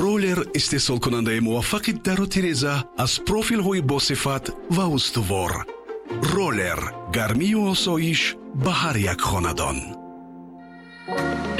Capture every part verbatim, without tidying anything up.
Роллер истеҳсолкунандаи муваффақи дару тиреза аз профилҳои босифат ва устувор. Роллер гармию осоиш ба ҳар як хонадон.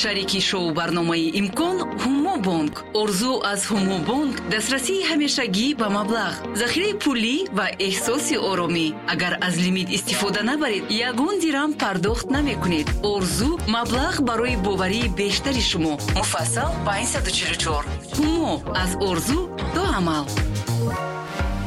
Шарики шоу-барномаи «Имкон» Ҳумобонк. Орзу аз Ҳумобонк дастрасии ҳамешагӣ ба маблағ, захираи пулӣ ва эҳсоси оромӣ. Агар аз лимит истифода набаред, ягон дирам пардохт намекунед. Орзу маблағ барои боварии бештари шумо. Муфассал панҷсаду чилу чор. Ҳумо аз орзу то амал.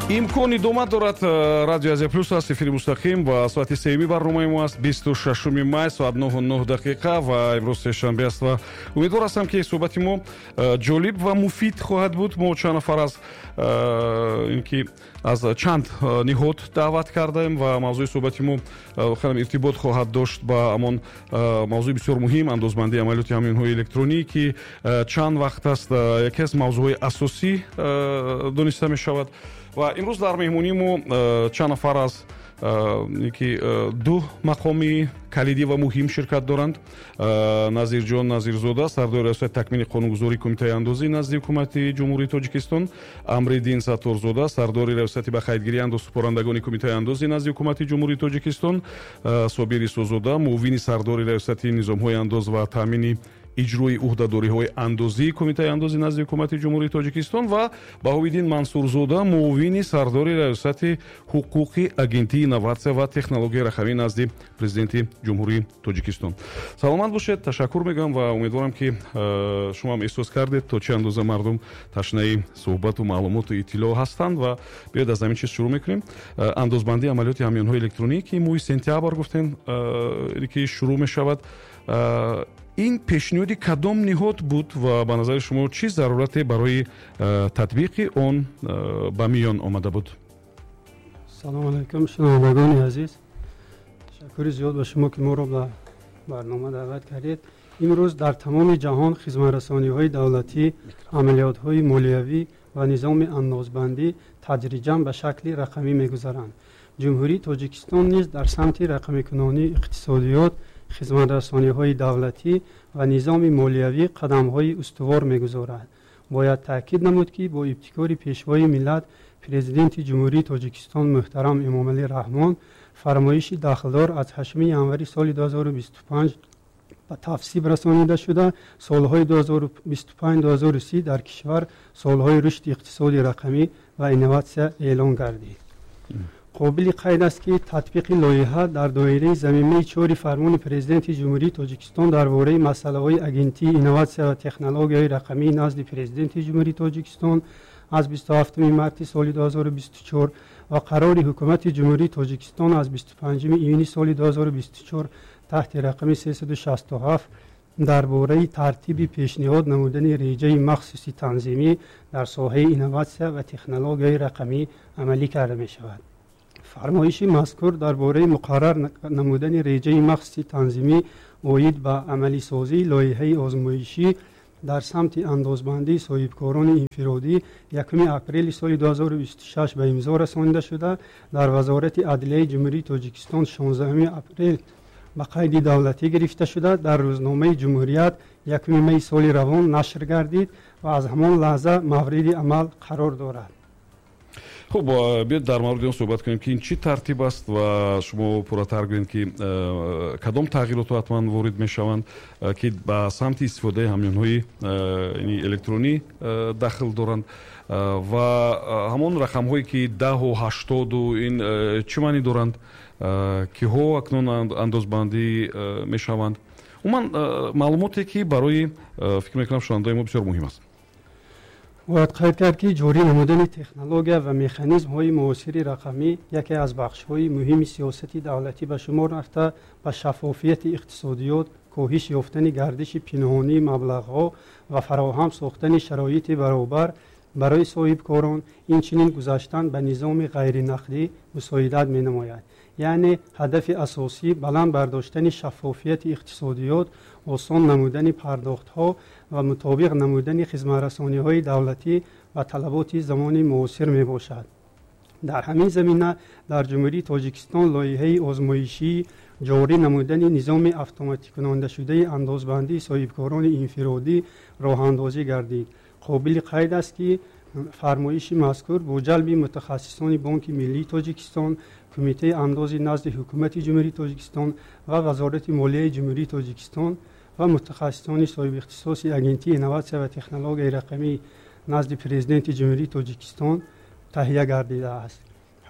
«Имкон» идома дорад. э, радио Азия Плюс аст, эфири мустақим ва соати сеюми барномаи мо аст. Бисту шашуми май, соат нӯҳу нӯҳ дақиқа ва имрӯз сешанбе аст ва умедвор ҳастам, ки суҳбати мо э, ҷолиб ва муфид хоҳад буд. Мо чанд нафар аз э, ин ки аз чанд ниҳод даъват кардаем ва мавзӯи суҳбати мо хеле иртибот хоҳад дошт ба ҳамон мавзӯи бисёр муҳим, андозбандии амалиёти ҳамёнҳои электронӣ, ки чанд вақт аст яке аз мавзӯъҳои асосӣ дониста мешавад. Ва имрӯз дар меҳмонии мо э, чанд нафар аз э, ки э, ду мақоми калидӣ ва муҳим ширкат доранд. Назирҷон Назирзода, сардори Раёсати такмили қонунгузории Кумитаи андозӣ назди Ҳукумати Ҷумҳурии Тоҷикистон, Амриддин Сатторзода, сардори Раёсати ба қайдгирии андозсупорандагони Кумитаи андозӣ назди Ҳукумати Ҷумҳурии Тоҷикистон, Собир Исозода, муовини сардори Раёсати низомҳои андоз ва таъмини иҷрои ӯҳдадориҳои андозии Кумитаи андозӣ назди Ҳукумати Ҷумҳурии Тоҷикистон ва Баҳовиддин Мансурзода, муовини сардори Раёсати ҳуқуқи Агентии инноватсия ва технологияи рақамӣ назди Президенти Ҷумҳурии Тоҷикистон. Саломат бошед, ташаккур мегӯям ва умедворам, ки э, шумо ҳам эҳсос кардед, то чӣ андоза мардум ташнаи суҳбату маълумоту иттилоъ ҳастанд. Ва биёед, аз ҳамин чиз шурӯъ мекунем. э, андозбандии амалиёти ҳамёнҳои электронӣ, ки моҳи сентябр гуфтем, э, ки шурӯъ мешавад, ин пешниҳоди кадом ниҳод буд ва ба назари шумо чӣ зарурате барои э, татбиқи он э, ба миён омада буд? Салому алайкум, шунавандагони азиз. Ташаккури зиёд ба шумо, ки моро ба барнома даъват кардед. Имрӯз дар тамоми ҷаҳон хизматрасониҳои давлатӣ, амалиётҳои молиявӣ ва низоми андозбандӣ тадриҷан ба шакли рақамӣ мегузаранд. Ҷумҳурии Тоҷикистон низ дар самти рақамикунонии иқтисодиёт, хизматрасониҳои давлатӣ ва низоми молиявӣ қадамҳои устувор мегузорад. Бояд таъкид намуд, ки бо ибтикори Пешвои миллат, Президенти Ҷумҳурии Тоҷикистон муҳтарам Эмомалӣ Раҳмон, фармоиши дахлдор аз ҳаштуми январи соли ду ҳазору бисту панҷ ба тасвиб расонида шуда, солҳои ду ҳазору бисту панҷ-ду ҳазору си дар кишвар солҳои рушди иқтисоди рақамӣ ва инноватсия эълон гардид. Қобили қайд аст, ки татбиқи лоиҳа дар доираи замимаи чори фармони Президенти Ҷумҳурии Тоҷикистон дар бораи масъалаҳои Агентии инноватсия ва технологияҳои рақамии назди Президенти Ҷумҳурии Тоҷикистон аз бисту ҳафтуми марти соли ду ҳазору бисту чор ва қарори Ҳукумати Ҷумҳурии Тоҷикистон аз бисту панҷуми июни соли ду ҳазору бисту чор таҳти рақами сесаду шасту ҳафт дар бораи тартиби пешниҳод намудани реҷаи махсуси танзимӣ дар соҳаи инноватсия ва технологияи рақамӣ амалӣ карда мешавад. Фармоиши мазкур дар бораи муқаррар намудани реҷаи махсуси танзимӣ оид ба амалисозии лоиҳаи озмоишӣ дар самти андозбандии соҳибкорони инфиродӣ якуми апрели соли ду ҳазору бисту шаш ба имзо расонида шуда, дар Вазорати адлияи Ҷумҳурии Тоҷикистон шонздаҳуми апрел ба қайди давлатӣ гирифта шуда, дар Рӯзномаи Ҷумҳурият якуми майи соли равон нашр гардид ва аз ҳамон лаҳза мавриди амал қарор дорад. Хуб, биёед, дар мавриди он суҳбат кунем, ки ин чӣ тартиб аст ва шумо пурратар гӯед, ки кадом тағйиротҳо ҳатман ворид мешаванд, ки ба самти истифодаи ҳамёнҳои электронӣ дахл доранд ва ҳамон рақамҳое, ки даҳу ҳаштоду ин чӣ маънӣ доранд, киҳо акнун андозбандӣ мешаванд. Умуман, маълумоте, ки барои, фикр мекунам, шунавандаои мо бисёр муҳим аст. Бояд қайд кард, ки ҷорӣ намудани технология ва механизмҳои муосири рақамӣ яке аз бахшҳои муҳими сиёсати давлатӣ ба шумор рафта, ба шаффофияти иқтисодиёт, коҳиш ёфтани гардиши пинҳонии маблағҳо ва фароҳам сохтани шароити баробар барои соҳибкорон, инчунин гузаштан ба низоми ғайринақдӣ мусоидат менамояд. Яъне ҳадафи асосӣ баланд бардоштани шаффофияти иқтисодиёт, осон намудани пардохтҳо ва мутобиқ намудани хизматрасониҳои давлатӣ ба талаботи замони муосир мебошад. Дар ҳамин замина дар Ҷумҳурии Тоҷикистон лоиҳаи озмоишии ҷорӣ намудани низоми автоматикунонидашудаи андозбандии соҳибкорони инфиродӣ роҳандозӣ гардид. Қобили қайд аст, ки фармоиши мазкур бо ҷалби мутахассисони Бонки Миллии Тоҷикистон, Кумитаи андози назди Ҳукумати Ҷумҳурии Тоҷикистон ва Вазорати Молияи Ҷумҳурии Тоҷикистон ва мутахассисони соҳибихтисоси Агентии инноватсия ва технологияи рақамӣ назди Президенти Ҷумҳурии Тоҷикистон таҳия гардидааст.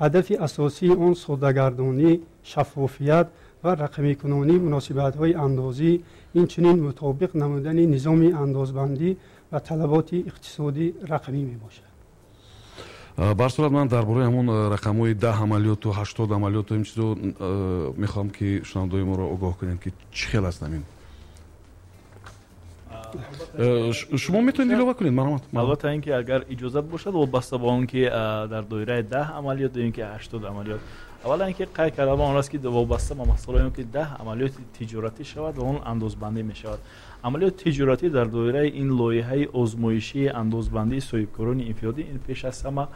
Ҳадафи асосии он соддагардонӣ, шаффофият ва рақамикунонии муносибатҳои андозӣ, инчунин мутобиқ намудани низоми андозбандӣ ва талаботи иқтисодии рақамӣ мебошад. Ба ҳар сурат, ман дар бораи ҳамон рақамҳои даҳ амалиёту ҳаштод амалиёту ин чизо мехоҳам, ки шунавандаои моро огоҳ кунем, ки чӣ хел аст ҳамин. Шумо метавонед илова кунед, марҳамат. Албатта, ин ки агар иҷозат бошад, вобаста ба он ки дар доираи даҳ амалиёт ё ин ки ҳаштод амалиёт, аввалан ин ки қайд кардам он аст, ки вобаста ба масъалаи он ки даҳ амалиёти тиҷоратӣ шавад ва он андозбандӣ мешавад. Амалиёти тиҷоратӣ дар доираи ин лоиҳаи озмоишии андозбандии соҳибкорони инфиродӣ ин пеш аз ҳама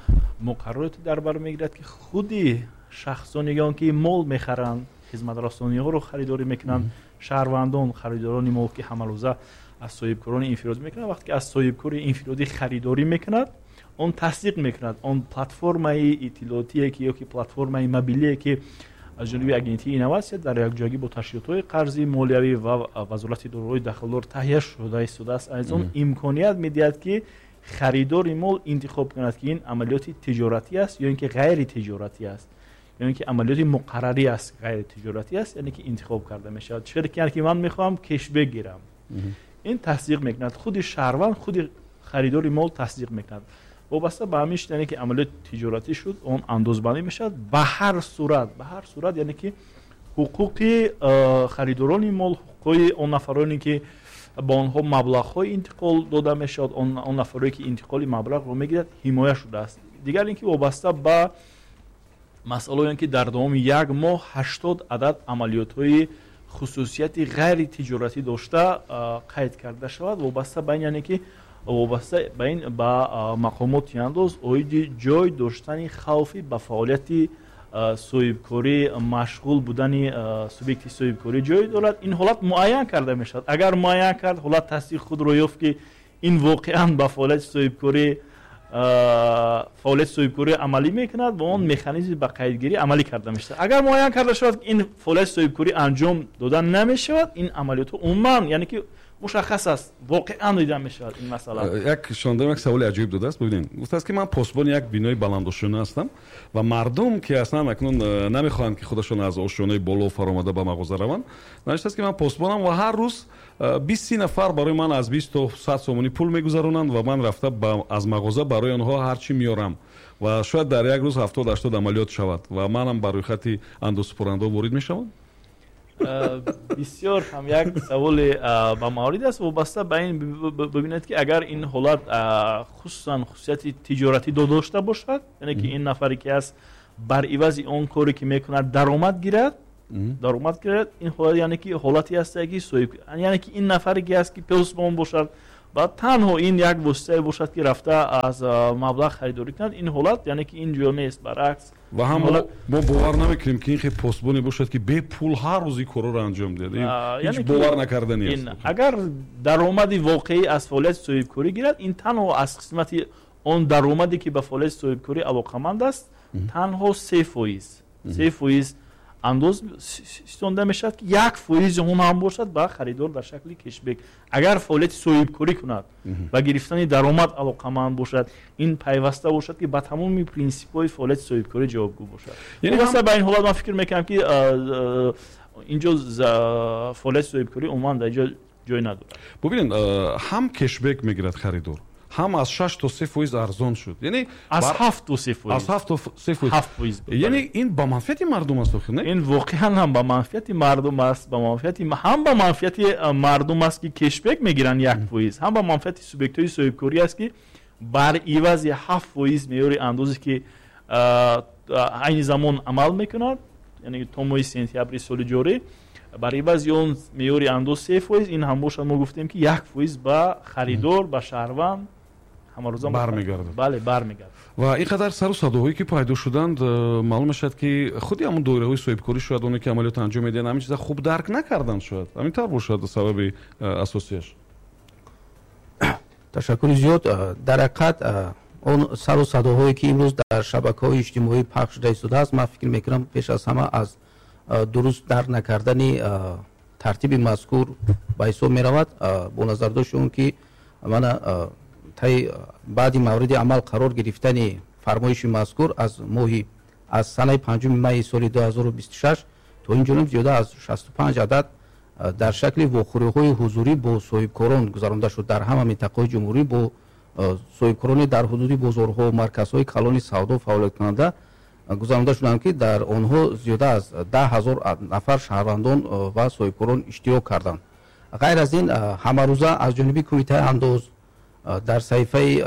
муқаррароте дар бар мегирад, ки худи шахсоне он ки мол мехаранд, хизматрасониҳоро харидорӣ мекунанд, шаҳрвандон, харидорони мол, ки ҳамарӯза аз соҳибкорони инфиродӣ мекунанд, вақте ки аз соҳибкори инфиродӣ харидорӣ мекунад, он тасдиқ мекунад. Он платформаи иттилоотие ки ё ки платформаи мобилие, ки аз ҷониби Агентии инноватсия дар якҷоягӣ бо ташкилотҳои қарзии молиявӣ ва Вазорати дорои дахлдор таҳия шуда истодааст, аз он имконият медиҳад, ки харидори мол интихоб кунад, ки ин амалиёти тиҷоратӣ аст ё ин ки ғайритиҷоратӣ аст, ё ин ки амалиёти муқаррарӣ аст, ғайритиҷоратӣ аст, яъне ки интихоб карда мешавад. Чӣ ки ман мехоҳам кешбек гирам, ин тасдиқ мекунад, худи шаҳрванд, худи харидори мол тасдиқ мекунад. Вобаста ба ҳамин, яъне ки амалиёти тиҷоратӣ шуд, он андозбандӣ мешавад. Ба ҳар сурат, ба ҳар сурат, яъне ки ҳуқуқи харидорони мол, ҳуқуқи он нафароне, ки ба онҳо маблағҳо интиқол дода мешавад, он нафароне, ки интиқоли маблағро мегирад, ҳимоя шудааст. Дигар ин ки вобаста ба масъалаи он ки дар давоми як моҳ ҳаштод адад амалиётҳои хусусияти ғайритиҷоратӣ дошта қайд карда шавад, вобаста ба ин, яъне ки вобаста ба ин ба мақомоти андоз оиди ҷой доштани хавфи ба фаъолияти соҳибкорӣ машғул будани субъекти соҳибкорӣ ҷой дорад, ин ҳолат муайян карда мешавад. Агар муайян кард, ҳолат тасдиқ худро ёфт, ки ин воқеан ба фаъолияти соҳибкорӣ фаъолияти соҳибкорӣ амалӣ мекунад, ва он механизми ба қайдгирӣ амалӣ карда мешавад. Агар муайян карда шавад, ки ин фаъолияти соҳибкорӣ анҷом дода намешавад, ин амалиётҳо умуман, яъне ки мушаххас аст, воқеан дида мешавад ин масъала. Як шунавандаам як саволи аҷоиб додааст. Бибинед, гуфтааст, ки ман посбони як бинои баландошёна ҳастам ва мардум, ки аслан акнун намехоҳанд, ки худашон аз ошёнаи боло фаромада ба мағоза раванд, навиштааст, ки ман посбонам ва ҳар рӯз бист си нафар барои ман аз бист то сад сомонӣ пул мегузаронанд ва ман рафта аз мағоза барои онҳо ҳар чӣ меорам ва шояд дар як рӯз ҳафтод ҳаштод амалиёт шавад ва манам ба рӯйхати андозсупорандаҳо ворид мешавам. Бисёр ҳам як саволи ба маврид аст. Вобаста ба ин бибинед, ки агар ин ҳолат хусусан хусусияти тиҷоратӣ дошта бошад, яъне ки ин нафаре ки аст, бар ивази он коре ки мекунад, даромад гирад, даромад гирад, ин ҳолат, яъне ки ҳолате аст, ки соҳиб, яъне ки ин нафаре ки аст, ки посбон бошад ва танҳо ин як воситае бошад, ки рафта аз маблағ харидорӣ кунад, ин ҳолат, яъне ки ин ҷо нест, баръакс. Ва ҳам мо бовар намекунем, ки ин хел посбоне бошад, ки бепул ҳар рӯз ин корро анҷом диҳад. Ҳеҷ бовар накарданӣ аст. Агар даромади воқеӣ аз фаъолияти соҳибкорӣ гирад, ин танҳо аз қисмати он даромаде, ки ба фаъолияти соҳибкорӣ алоқаманд аст, танҳо се фоиз се фоиз андоз ситонда мешавад, ки як фоизи он ҳам бошад ба харидор дар шакли кешбек. Агар фаъолияти соҳибкорӣ кунад ва гирифтани даромад алоқаманд бошад, ин пайваста бошад, ки ба тамоми принсипҳои фаъолияти соҳибкорӣ ҷавобгӯ бошад. Вобаста ба ин ҳолат ман фикр мекунам, ки инҷо фаъолияти соҳибкорӣ умуман дар инҷо ҷой надорад. Бубинед, ҳам кешбек мегирад харидор, ҳам аз шаш то се фоиз арзон шуд, яъне аз ҳафт то се фоиз, аз ҳафт то се фоиз, ҳафт фоиз. Яъне ин ба манфиати мардум аст охир, не? Ин воқеан ҳам ба манфиати мардум аст, ба манфиати ҳам ба манфиати мардум аст, ки кешбек мегиранд як фоиз, ҳам ба манфиати субъектҳои соҳибкорӣ аст, ки бар ивази ҳафт фоиз меъёри андозе, ки айни замон амал мекунад, яъне то моҳи сентябри соли ҷорӣ, бар ивази он меъёри андоз се фоиз, ин ҳам бошад, мо гуфтем, ки як фоиз ба харидор, ба шаҳрванд Ҳамарӯза бармегардад. Бале, бармегардад. Ва ин қадар сару садоҳое ки пайдо шуданд, маълум мешавад, ки худи ҳамон доираҳои соҳибкорӣ, шояд оне ки амалиёт анҷом медиҳанд, ҳамин чиза хуб дарк накарданд, шояд ҳамин тавр бошад сабаби асосияш. Ташаккури зиёд. Дар ҳақиқат, он сару садоҳое ки имрӯз дар шабакаҳои иҷтимоӣ пахш шуда истодааст, ман фикр мекунам, пеш аз ҳама аз дуруст дарк накардани тартиби мазкур ба ҳисоб меравад, бо назардошти он ки мана таи баъди мавриди амал қарор гирифтани фармоиши мазкур аз моҳи аз санаи панҷуми майи соли ду ҳазору бисту шаш то ин ҷониб зиёда аз шасту панҷ адад дар шакли вохӯриҳои ҳузурӣ бо соҳибкорон гузаронда шуд. Дар ҳама минтақаҳои ҷумҳурӣ бо соҳибкорони дар ҳудуди бозорҳо, марказҳои калони савдо фаъолияткунанда гузаронда шуданд, ки дар онҳо зиёда аз даҳ ҳазор нафар шаҳрвандон ва соҳибкорон иштирок карданд. Ғайр аз ин, ҳамарӯза аз ҷониби Кумитаи андоз дар саҳифаи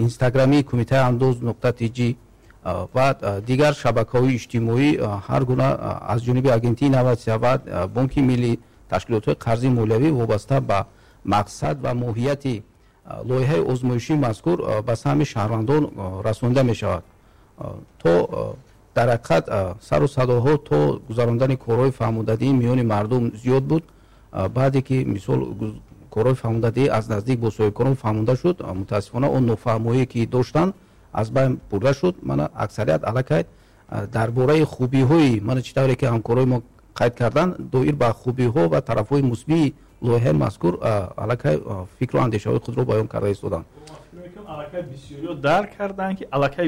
инстаграмии Кумитаи андоз нуқта тж ва дигар шабакаҳои иҷтимоӣ ҳар гуна аз ҷониби Агентии инноватсия ва Бонки миллӣ, ташкилотҳои қарзии молиявӣ вобаста ба мақсад ва моҳияти лоиҳаи озмоишии мазкур ба саҳми шаҳрвандон расонида мешавад. То дар ҳақиқат, сару садоҳо то гузарондани корҳои фаҳмондадиҳӣ миёни мардум зиёд буд. Баъде ки, мисол, корҳои фаҳмондадиҳӣ аз наздик бо соҳибкорон фаҳмонда шуд, мутаассифона, он нофаҳмоие ки доштанд, аз байн бурда шуд. Мана, аксарият аллакай дар бораи хубиҳои, мана, чӣ тавре ки ҳамкорои мо қайд карданд, доир ба хубиҳо ва тарафҳои мусбии лоиҳаи мазкур аллакай фикру андешаҳои худро баён карда истоданд. Аллакай бисёриҳо дарк карданд ки аллакай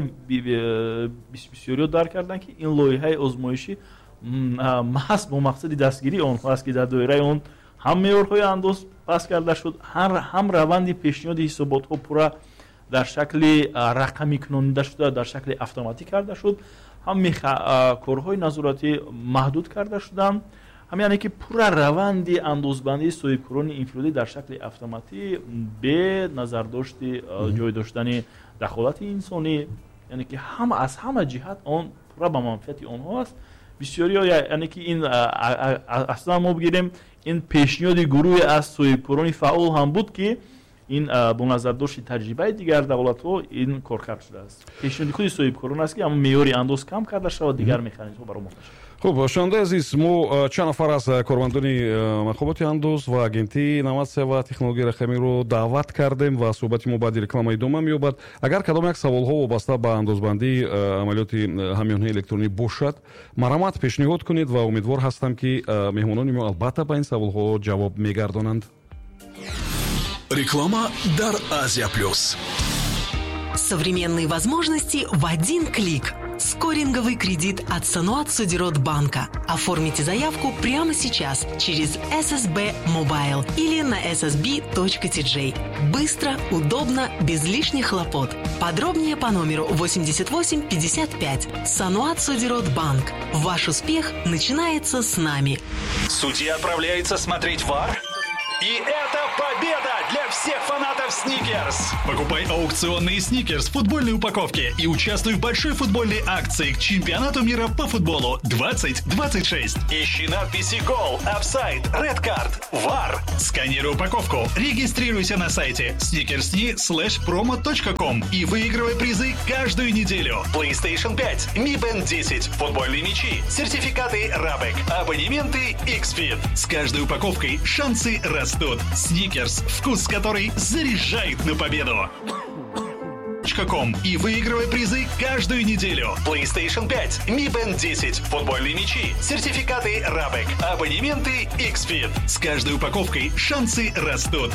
бисёриҳо дарк карданд, ки ин лоиҳаи озмоишӣ маҳз бо мақсади дастгирии онҳо аст, ки дар доираи он ҳам меъёрҳои андоз паст карда шуд, ҳам раванди пешниҳоди ҳисоботҳо пурра дар шакли рақамӣ кунонида шуда, дар шакли автоматӣ карда шуд, ҳам корҳои назоратӣ маҳдуд карда шуданд, ҳам яъне ки пурра раванди андозбандии соҳибкорони инфиродӣ дар шакли автоматӣ, бе назардошти ҷой доштани дахолати инсонӣ, яъне ки ҳама аз ҳама ҷиҳат он пурра ба манфиати онҳо аст. Бисёриҳо, яъне ки ин аслан мо бигирем, ин пешниҳоди гурӯҳе аз соҳибкорони фаъол ҳам буд, ки ин бо назардошти таҷрибаи дигар давлатҳо ин коркард шудааст. Пешниҳоди худи соҳибкорон аст, ки ҳамон меъёри андоз кам карда шавад, дигар механизмҳо баромада шавад. Хуб, шунавандаи азиз, мо чанд нафар аз кормандони мақомоти андоз ва Агентии инноватсия ва технологияи рақамиро даъват кардем ва суҳбати мо баъди реклама идома меёбад. Агар кадом як саволҳо вобаста ба андозбандии амалиёти ҳамёнҳои электронӣ бошад, марҳамат, пешниҳод кунед ва умедвор ҳастам, ки меҳмонони мо албатта ба ин саволҳо ҷавоб мегардонанд. Реклама дар Азия Плюс. Современные возможности в один клик. Скоринговый кредит от Саноат Содирот Банка. Оформите заявку прямо сейчас через S S B Mobile или на S S B точка T J. Быстро, удобно, без лишних хлопот. Подробнее по номеру восемьдесят восемь пятьдесят пять. Саноат Содирот Банк. Ваш успех начинается с нами. Судья отправляется смотреть ВАР? И это победа для всех фанатов Сникерс! Покупай аукционные Сникерс в футбольной упаковке и участвуй в большой футбольной акции к чемпионату мира по футболу две тысячи двадцать шесть. Ищи надписи «Гол», «Офсайд», «Red Card», «ВАР». Сканируй упаковку, регистрируйся на сайте snickersni slash promo точка com и выигрывай призы каждую неделю. PlayStation пять, Mi Band десять, футбольные мячи, сертификаты Рабек, абонементы X-Fit. С каждой упаковкой шансы растут. Сникерс – вкус, который заряжает на победу. Com и выигрывай призы каждую неделю. PlayStation пять, Mi Band десять, футбольные мячи, сертификаты Рабек, абонементы X-Fit. С каждой упаковкой шансы растут.